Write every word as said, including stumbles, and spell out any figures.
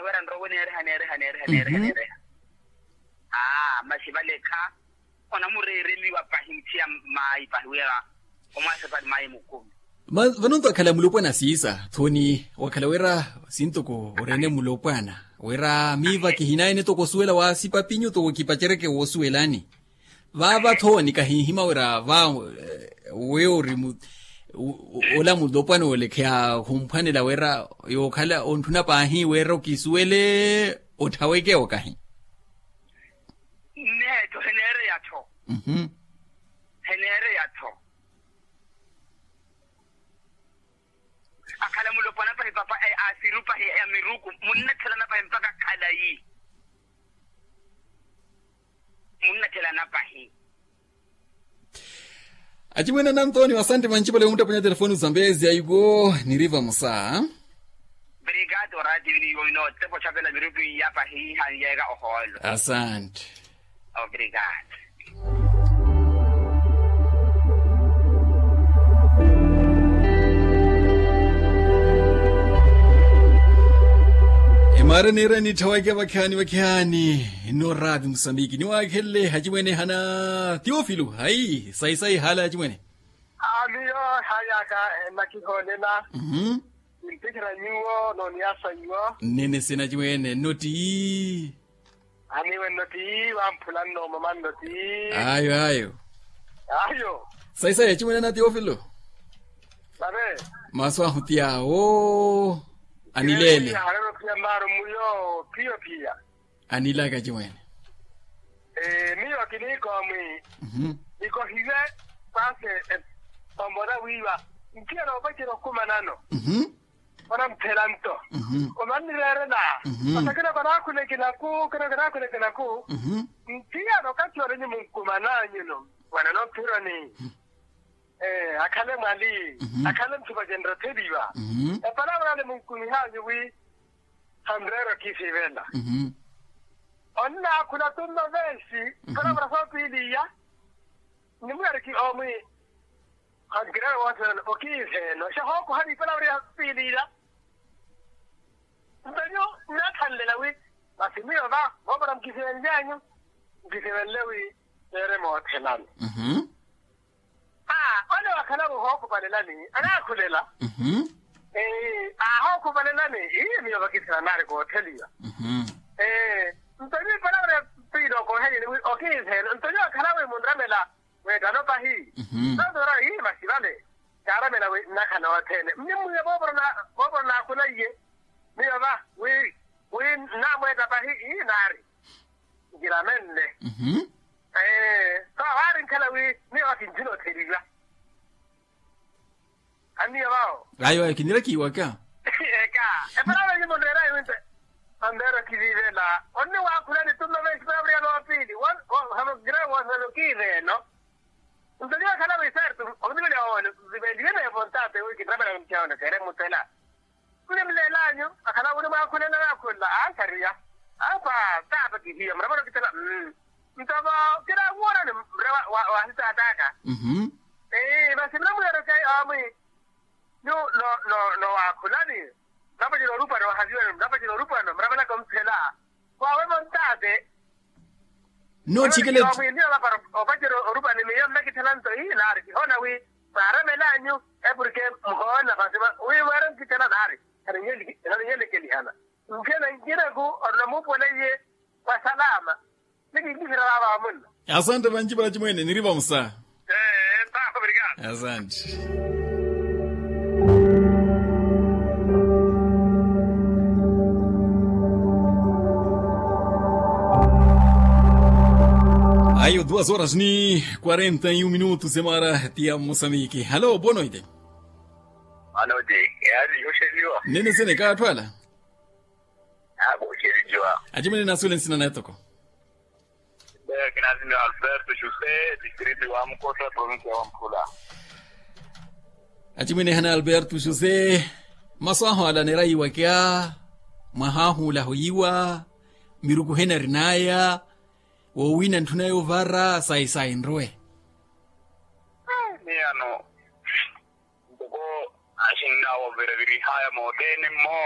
Para nrowe neereha neereha neereha neereha neereha. Aa masi valekha onamureereliwa pahi muthiya maayi pahi wira omwaasepali maayi mukumi. Vanonto akhala mulopwana siisa thoni wakhala wira sintoko oreene mulopwana wira miiva kihinayene toko osuwela waasipa pinyu toko kipacereke woosuwelani. Vaava thoni kahinhima wira va weyo ori ola mulopwana olekheya khumphwanela wira yookhala ontthuna paahi wira okisuwele otthaweke okahi. Nneetho heneereya-tho. Heneereya-tho. Akhala mulopwana pahi papa asiru pahi ya miruku munnathelana pahi mpakha khalayi. Munnathelana pahi. Acimwene anantoni asante manci pale omuttapwenya telefoni zambezi aiko niriva musa. Obrigado radio iniyo ino tepo chapela miruku iya pahi hanyeeka ohoolo. Asante. Obrigado. Emaara niira nittha wake vakhaani vakhaani. Nno raapi musambiki niwaakhenle hacimwene hana teofilo hayi sayi sayi haala hacimwene. Amiyo hayaka enakihoolela. Nimpikhira nyuwo nooniyasa nyuwo. Nnene sina hacimwene nno ti. Aniwe nno ti wamphula nno mama nno ti. Ayo ayo. Ayo. Sayi sayi hacimwene ana teofilo. Sabe. Masu ahu ti awo. Anileele. Halelo piya maaro muyo piyo piya. Anilaka hacimwene. Miyo kiniikowa mwi nikohiwe. Paase omona wiiwa nkiya noopacela okumanano. Onamphela nto omannireerela. Ata kina kanaakhulekelaku kina kanaakhulekelaku. Nkiya nokathi olenyi munkumananyuno. Wana nophironi akhale mwali akhale nthupa jenrotheliwa. Epalavula nimunkumihanyu wi. Hamreero kiisivela. Onnaakhula tunno veesi. Palavula soopiiliya. Nimuyariki omwi. Hankirela woothela okiiveeno xa hookuhani palavula ya piiliya. Mpenyu nnaathanlela wi masi miyo va voopara mukisivenlyanyu. Mukisivenle wi neere moothelani. Ole wakhalawe ohookupalelani anaakhulela. Ii aahookupalelani. Ii miyo vakisina naari kootheliwa. Nto niipalavula piili okooheleni wi okiiveeno nto nyuwo akhalawe munramela. Weettano pahi. Notora ii masi vale. Kaaramela wi nnakhala othene mnimwiya voopora naakhulaiye. Miyo va wi wi nnaamweetta pahi ii naari. Nkiramenle. Ee so waari nkhala wi miyo va kinjina otheliwa. Anniyo vawo. Ayo ayo kinirakiwaka. Eka. Epalavula nyumunreerayi winte. Ambeero kivivela onni waakhulani tunno veesi palavula ya noopiili. Gira wooselo kiiveeno. Nto nyuwo akhala wi saari tu omutiveliha woone. Viveliwe neevo ntaate wi kinramela muthiya woone keere mutela. Nnimleelanyu akhala wi nimwaakhulela naakhulula aaxariya. Apa taapa kihiya murapala okitela. Nto vo kiraawuwona ni mre wa sitaat'aka. Masi muna mwiyaroke omwi. Nyu no no no waakhulani. Murapacela orupano wahaviwani murapacela orupano murapanaka omphela. Kwaawe montaate. Nno otthikela. Opacela orupano ni miyo nnakitthela nto ii naari kihoona wi. Mwaaramel'anyu epurke muhoona masi wi mweere nkitthela naari. Khaninyelekelihana. Nkhena nkinaku orina muupuwela iye. Wa salama. Nikinkikhira vaava vamunna. Asante vanci para cimwene niri vamusa. Ee ntaaha obrigado. Asante. Ayo duas horas ni quarenta e um minutos emara tia moçambique halo boa noite. Boa noite. Yaani yoxeliwa. Nene sene kaatthu ala. Aakuxeliwa. Acimwene naasuwele nsina naye toko. Kinaasinniwa alberto josé distrito wa mukota provincia wa mphula. Acimwene ehana alberto josé. Masu ahu ala aneera yiiwakya mwaha ahu ola ahoyiwa miruku hena arin'aya woowina ntthuna yoovara sayi sayi nrowe. Miyano ntoko axinn'awo virivirih'aya moothene mmo.